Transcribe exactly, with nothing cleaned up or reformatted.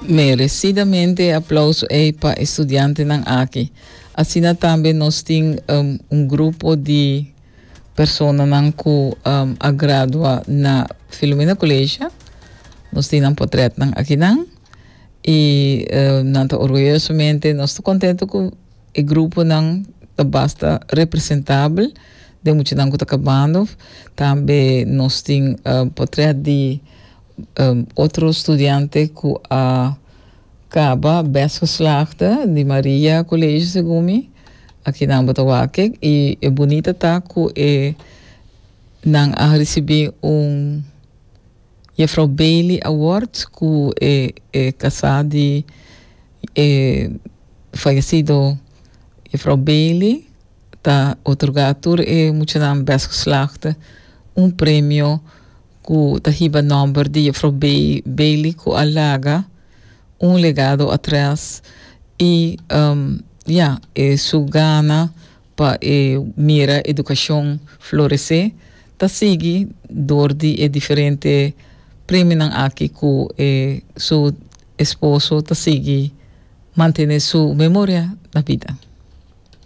Merecidamente aplauso ei pa studiantenan aki. Asina tambe nos tin um, un grupo di personanan ku um, a gradua na Filomena College. Nos tin un portretnan akinan. I uh, nan ta orguyosamente, nos ta kontentu ku e gruponan ta basta representabel di muchanan ku ta kabando. Tambe nos tin uh, portret di um, otro studiante ku a kaba best geslaagde di Maria College, segun mi. Akinan bo ta wak e i e bunita ta ku e nan a risibí un Juffrouw Bailey Award, ku e, e kasá di e fayesido Juffrouw Bailey ta otorgá tur e muchanan best geslaagde un premio ku ta hiba nòmber di Juffrouw Bailey, ku a laga un legado atras i um, ja, e su gana pa e mira edukashon floresé ta sigui dor di e diferente premionan aki ku e su esposo ta sigui mantené su memoria na bida.